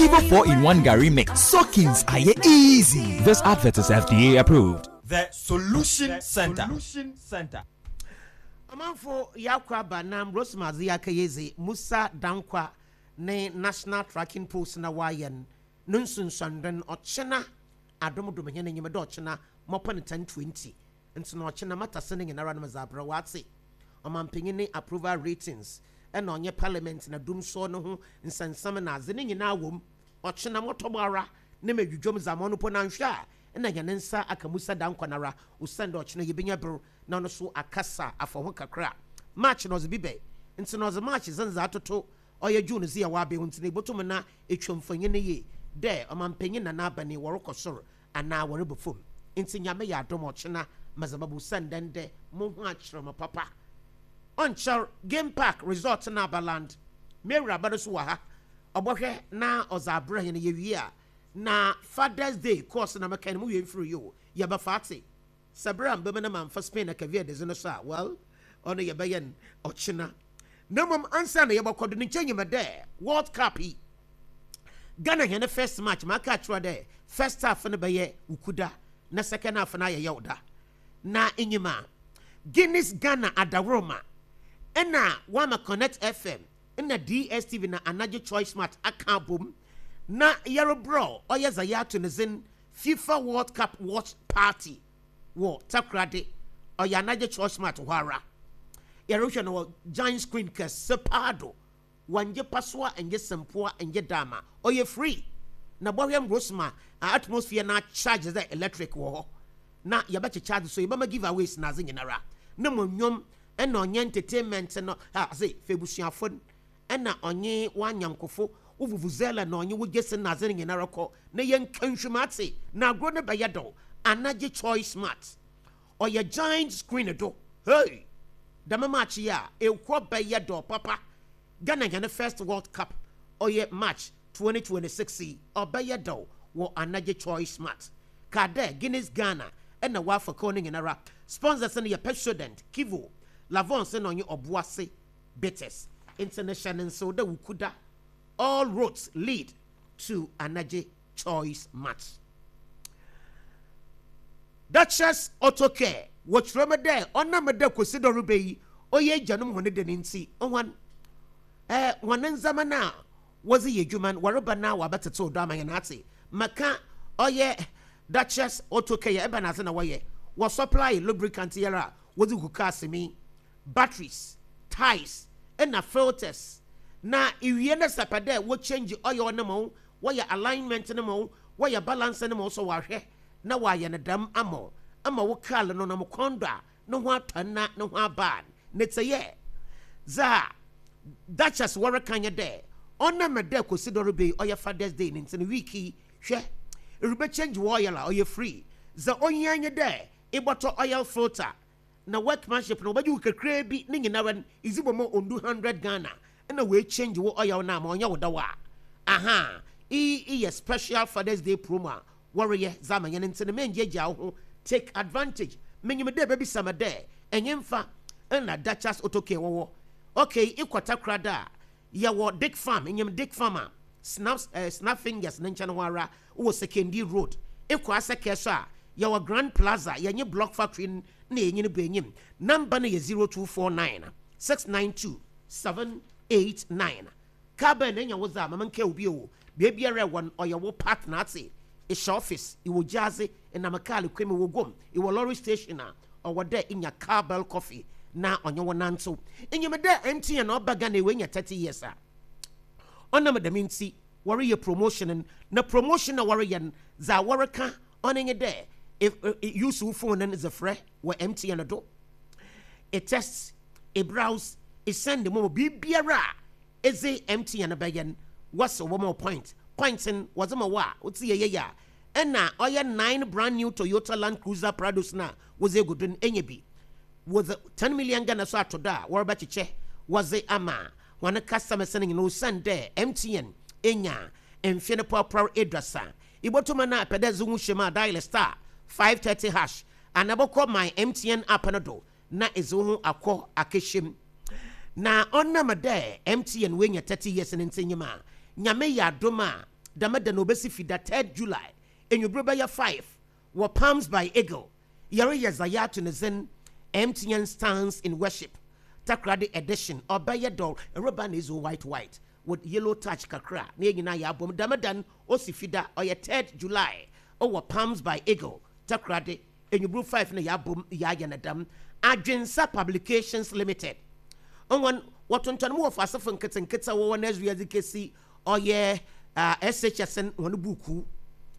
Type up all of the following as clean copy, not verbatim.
Kivo 4 in 1 Gary Mix. Soakings are easy. This advert is FDA approved. The Solution Center. Solution Center. Ɔmanfo Yakɔ aba nam Rosemary Yakayeze Musa Dankwa ne National Tracking Post na wɔayɛ no no nsunsuando no ɔkyena adomdom hɛn enyim dɛ ɔkyena mɔpon 10:20 ntsi na ɔkyena matase no nyinara no medze abrɛ wo atse. Ɔmampanyin ne approval ratings na ɔnye parliament na dumsɔɔ no ho nsɛnsɛm na adze ne nyinaa wɔ mu. Ɔkyena mɔtɔ ara na medwudwo mu dza ma ɔno mpo na annhwɛ a nna hɛn nsa aka Musa Dankwa noara osiandɛ ɔkyena yebenya ber na ɔno so akasa afa ho kakra. March na ɔdze bi bɛ ntsi na ɔdze March dze ndze atoto ɔyɛ June dze a ɔabɛn ho ntsi na ibotum na etwa mfonyin no yie dɛ ɔmampanyin na n'aban yi wɔrokɔ sor anaa wɔreba famu. Ntsi Nyame yɛ adom a ɔkyena medze bɛba osiandɛ ndɛ moho akyerɛ me papa. Ɔnnkyɛr Game Park Resort na aba land. M'ewuraba no so wɔ ha ɔbɔhwɛ na ɔdze abrɛ hɛn yewie a na Father's Day course na mekɛn no mo wie mfir yi o yɛbɛfa atse. Sɛ ber a mebɛma na mammfa Spain na Cape Verde dze no so a, well, ɔno yɛbɛyɛ no ɔkyena. Na mbom ansaana yɛbɔkɔ do no, nkyɛ nyim dɛ World Cup yi, Ghana hɛn first match, maka akyerɛ wo dɛ first half no bɛyɛ Wukuda na second half no ayɛ Yawda. Na inyim a, Guinness Ghana adaworoma na wɔama Connect FM na DSTV na Anadwo Choice Mart aka abɔ mu na yɛrebrɛ ɔyɛ dza yɛato no dzin FIFA World Cup Watch Party wɔ Takoradi, ɔyɛ anadwo Church Mart hɔ ara. Yɛrohwɛ no wɔ giant screen kɛse paa do. Wɔnngye pasoa, nngye sempoa, nngye daama. Ɔyɛ free. Na bɔhwɛ mbrosma a atmosphere no acharge dɛ electric wɔ hɔ. Na yɛbɛkyekyɛ adze so, yɛbɛma giveaways na adze nyinara. Na mo ndwom na ɔnnyɛ entertainment no, ha, ɔse fa ebusuafo n'. Nna ɔnye w'anyɛnkofo, wo vuvuzela na ɔnye wo gyese na adze no nyinara kɔ na yɛnka nhwim atse na agor no bɛyɛ dɛw. Anagye Choice Smart. Ɔyɛ giant screen do. Hey! Dɛm match yi a, ehɔ bɛyɛ dɛw papa. Ghana hɛn first World Cup ɔyɛ March 2026 yi, ɔbɛyɛ dɛw wɔ Anagye Choice Smart. Kaa dɛ Guinness Ghana na wɔafa kuw no nyinara. Sponsors no yɛ Pepsodent, Kivo, Lavonse na ɔnye Ɔboase. Bitters ntsi no hyɛ no nsew dɛ Wukuda all roads lead to Anagye Choice Mart. Duchess Auto Care wɔkyerɛ mu dɛ ɔnam dɛ Kwesi Dɔreba yi ɔyɛ egyanom hɔn dɛ no ntsi hɔn eh hɔn ndzɛmba no a wɔdze yɛ edwuma no wɔreba na wɔabɛtsetsew do ama hɛn atse. Maka ɔyɛ Duchess Auto Care yɛ ebɛnadze na wɔyɛ? Wɔ supply lubricant yi ara a wɔdze gu cars mu yi. Batteries, ties na filters na iwie na sɛ pɛ dɛ wɔ change oil no ma wo, wɔyɛ alignment no ma wo, wɔyɛ balancing no ma wo so wɔahwɛ na wɔayɛ no dɛm ama wo ama wo kaar no nam kwan do a no ho atɔ na no ho aba a ne tse yɛ. Dza Duchess wɔreka nye dɛ ɔnam dɛ Kwesi Dɔreba yi ɔyɛ Father's Day no ntsi no week yi hwɛ eribɛ change wo oil a ɔyɛ free. Dza ohia nye dɛ ebɔtɔ oil filter na workmanship no wɔbɛgye wo kakraa bi ne nyinara no idzi bɔ ma ondu hundred Ghana na woe change wo oil no ama ɔnnyɛ wo dɛw a ahaa iyi yɛ special Father's Day promo a wɔreyɛ dze ama hɛn ntsi no menngyeagyaa wo ho take advantage minyim dɛ ebebisa me dɛ ɛnye mfa na Duchess Auto Care wɔwɔ okay ekɔ Takoradi a Yɛwɔ Dick Farm, inyim Dick Farm a, Snaps eh, Snap Fingers ne nkyɛn hɔ ara wɔ Sekondi Road. Ekɔ Asɛkɛ so a, yɛwɔ Grand Plaza, yɛnye Block Factory no na yɛnye no bɔ enyim. Number no yɛ 0249 692 789. Car bɛn na enya wo dze a, ma menkaa wo bio o, beebiara ewɔ no, ɔyɛ wo partner atse. Ehyɛ office, ewɔ gyaadze, enam kaar kwan mu, ewɔ guam, ewɔ lorry station a, ɔwɔ dɛ inya cowbell coffee na ɔnye wo nantsew. Inyim dɛ MTN ɔba Ghana yi oenya 30 years a. Ɔnam dɛm ntsi wɔreyɛ promotion no, na promotion a wɔreyɛ no dza wɔreka ɔno nye dɛ use wo phone no dze frɛ wɔ MTN do, e text, e browse, e send momo, biribiara a edze MTN bɛyɛ no wɔse wɔbɛma wo point. Points no wɔdze ma wo a otse yɛyɛ yie a Nna ɔyɛ nine brand new Toyota Land Cruiser Prados no a wɔdze egu do no enya bi. Wɔdze 10 million Ghana so ato do a wɔrebɛkyekyɛ wɔdze ama hɔn customers no nyina osiandɛ MTN enya mfe no pɔrpɔr eduasa. Ibotum ana epɛ dɛ edze woho hyɛ mu a dial *530# anaa ebɔkɔ My MTN app no do na edze woho akɔ akɛhyɛ mu. Na ɔnam dɛ MTN woenya 30 years no ntsi nyim a Nyame yɛ adom a. Dɛm da no obesi Fida 3rd July enyimber bɛyɛ 5 wɔ Palms by Eagle. Yɛreyɛ dza yɛato ne dzin MTN Stands in Worship Takoradi Edition. Ɔbɛyɛ dɔw. Reba na edzi wo white white with yellow touch kakra na yɛn nyinaa yɛabom. Dɛm da no osi Fida, ɔyɛ 3rd July wɔ Palms by Eagle, Takoradi, enyimber 5 na yɛabom yɛayɛ no dɛm. Adwensa Publications Limited hɔn wɔtontɔn mu wɔ faasefo nketsenketse a wɔwɔ nursery adze kesi ɔyɛ SHS hɔn buukuu.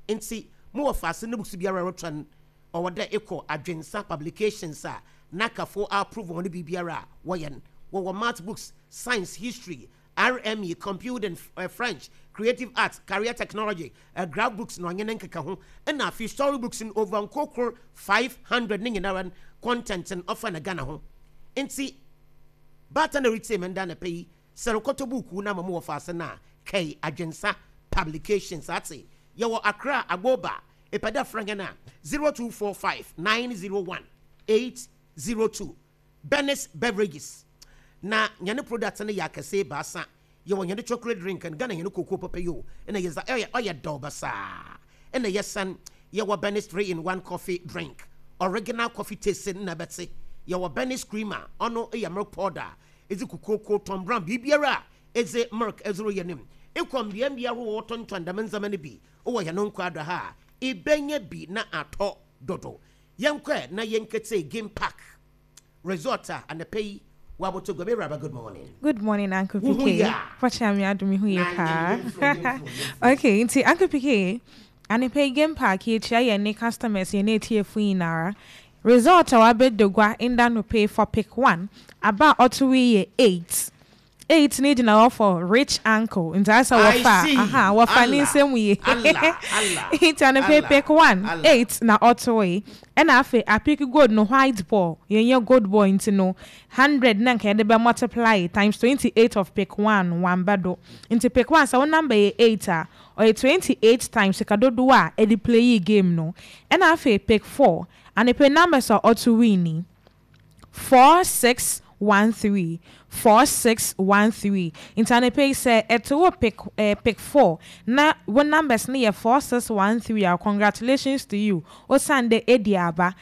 Ntsi mowɔ faase no books biara rotɔ no, ɔwɔ dɛ ekɔ Adwensa Publications a n'akafo approve hɔn biribiara a wɔyɛ no. Wɔwɔ math books, science, history, RME, computing, French, creative arts, career technology, graph books na ɔnye ne nkeka ho. Ɛna afei story books no over nkokor 500 ne nyinara no content no ɔfa na Ghana ho. Nti baata na retsie me nda anapa yi, sɛ rokɔtɔ buukuu no ama mo wɔ faase no a, kɛe Adwensa Publications atse. Yɛwɔ Accra, Agboba. Epɛ dɛ frɛ hɛn a, 0245 901 802. Bernice Beverages na hɛn product no yɛ akɛse ebiasa. Yɛwɔ hɛn chocolate drink no, Ghana hɛn cocoa papa yi o, na yɛdze ɔyɛ ɔyɛ dɛw basaa. Ɛna yɛsan yɛwɔ Bernice 3 in 1 coffee drink, original coffee taste no na ɛbɛtse. Yɛwɔ Bernice creamer, ɔno yɛ milk powder a edze kokooko, Tom Brown, biribiara a edze milk edze reyɛ no mu. Ekɔ mbeambea ahorow a wɔtontɔn dɛm ndzɛmba no bi wɔ hɛn nkwado ha a, ibenya bi na atɔ dodo. Yɛnkɔ na yɛnketse Game Park Resort a anapa yi wɔabɔtɔ gua. Raba, good morning. Good morning, Uncle PK. Fakyɛ me adom hu yɛ paa. Okay, nti Uncle PK, anapa yi Game Park yɛkyia yɛn ne customers, yɛn ne etiefo nyinara. Result a wabɛda gua nda no pay for pick one aba a ɔto yi yɛ 8. 8 ne gyina hɔ for rich uncle, nti asɛ wɔfa aha wɔfa ne nsɛm yie. Nti anapa pick 1 8 na ɔto yi. Ɛna afei apick gold no, white ball, yɛnyɛ gold ball, nti no 100 na nka yɛde bɛ multiply times 28 of pick 1 wamba do. Nti pick 1, sɛ wo number yɛ 8 a, ɔyɛ 28 times sika dodoɔ a ɛde play yi game no. Ɛna afei pick 4, anapa numbers a ɔto win ni 4613, 4613. Nti anapa yi sɛ ɛto wɔ pick 4 na wo numbers no yɛ 4613 a, congratulations to you, osan de edi aba.